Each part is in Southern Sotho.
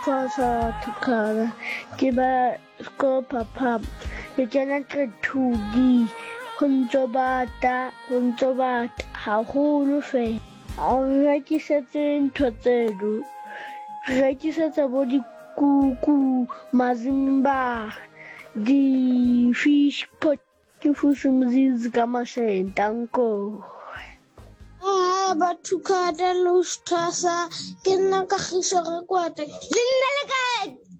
Thwasa Thukhala ke ba sekolo phaphama ke kena grade 2D ho ntso bata ho ntso bata haholo fela a re rekisetse ntho tseno re rekisetsa bo dikuku mazimba di-fish pot Ke fusi mzizi ka masheng tanko. Ah, batho khata lo sthasa ke nna ka giso ga kwata le nna le ka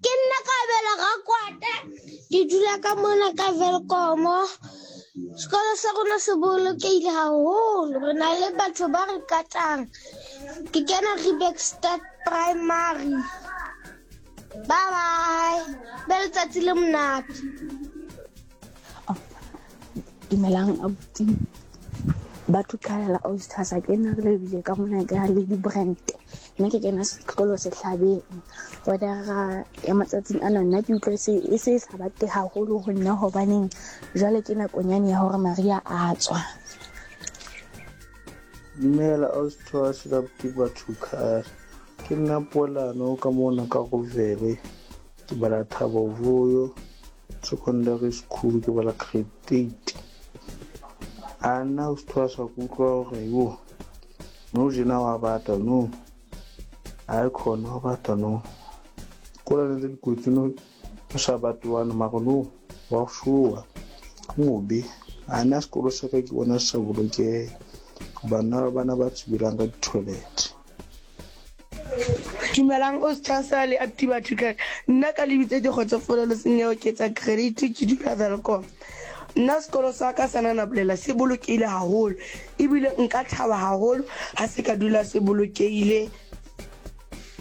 ke nna ka bela ga kwata ke dula ka mona ka Welkomo sekolo sa rona se bolokehile haholo re na le batho ba re katang ke kena Riebeeckstad Primary bye bye be letsatsi le monate. Dumelang abuti batho qhalela ausi ke nna re lebile ka mona ka Lady Brand nna ke kena sekolo sehlabeng weather-a ya matsatsing ana nna ke utlwa e se e sa bate haholo ho nna hobaneng jwale ke nakonyane ya hore mariha a tswa. Dumela ausi Thoase le abuti Batho ke nna Poelano ka mona ka Rovele ke bala Thabo Vuyo. Secondary school ke bala grade 8. A nna o sethwasa ke utlwa hore yo no jena wa bata no. Hayi khona wa bata no. Kolane tse dikotsi no o sa bate one mara no wa showa. Mobe. A nna sekolo sa ka ke bona se sa bolokeha. Bana bana ba tsubelang ka di-toilet. Dumelang o Sthasa le Ati batho kae? Nna ka lebitso ke Kgotsofolo Lesenyeho ke etsa credit ke dula Welkom. Nna sekolo sa ka sa Nanabolela se bolokehile haholo ebile nka thaba haholo ha se ka dula se bolokehile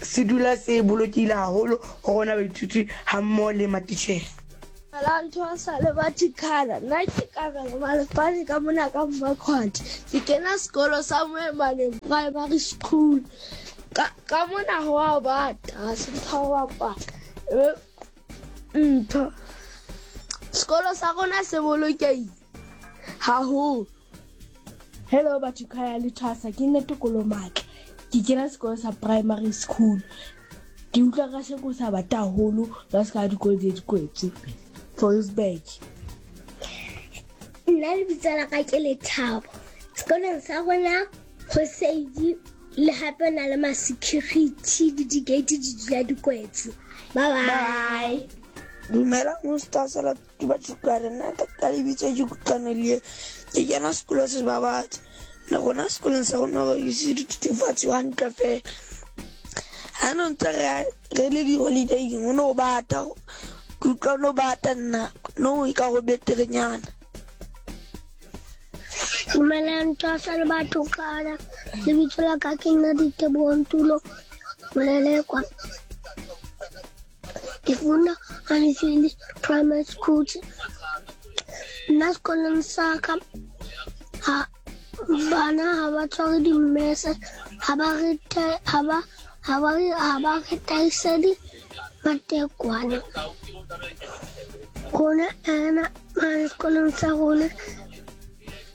se dula se bolokehile haholo ho rona baithuti hammoho le matitjhere. Dumelang Thosa le Bathikhala. Nna ke Kabelo Malefane ka mona ka Mmakhwathe. Ke kena sekolo sa Moemaneng Primary School. Ka, ka mona ho a bata, ha se ntho ya ho bapala. Ebe ntho. Sekolo sa rona se bolokehile haholo. Hello batho khaya le thwasa ke nna Tokolo Matla ke kena sekolo sa primary school ke utlwa ka sheko sa bata haholo ka se ka dikolo tse di kwetswe Volksburg. Nna lebitso la ka ke Lethabo. Sekolong sa rona go seidi le gape na le ma-security le di-gate di dula di kwetswe. Bye bye. Dumela Mustasa Ke batho ka re nna ka lebitso ke Kutlwano Lie, ke kena sekolo se Babatse. Le rona sekolong sa rona re ise dithethefatsi hantle fela. Ha no ntse re re le di-holiday-ing ho no bata, ke utlwa no bata nna no e ka go beterenyana. Dumelang Twasa le batho kana. Lebitso la ka ke nna Diteboho Ntulo Molelekwa. Ke funda Anfield Primary School. Nna sekolong sa ka ha bana ha ba tshware dimmese, ha ba re ha ba ha ba re ha ba re taisedi matekwane. Rona ena mane sekolong sa rona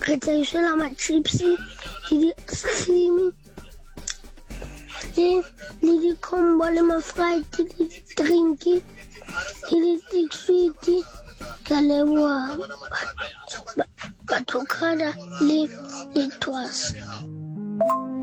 re tla ma-chips le di-ice cream. Le di-combo le ma-fried le di-drink le di-sweet. Ke a leboha batho le le thwasa.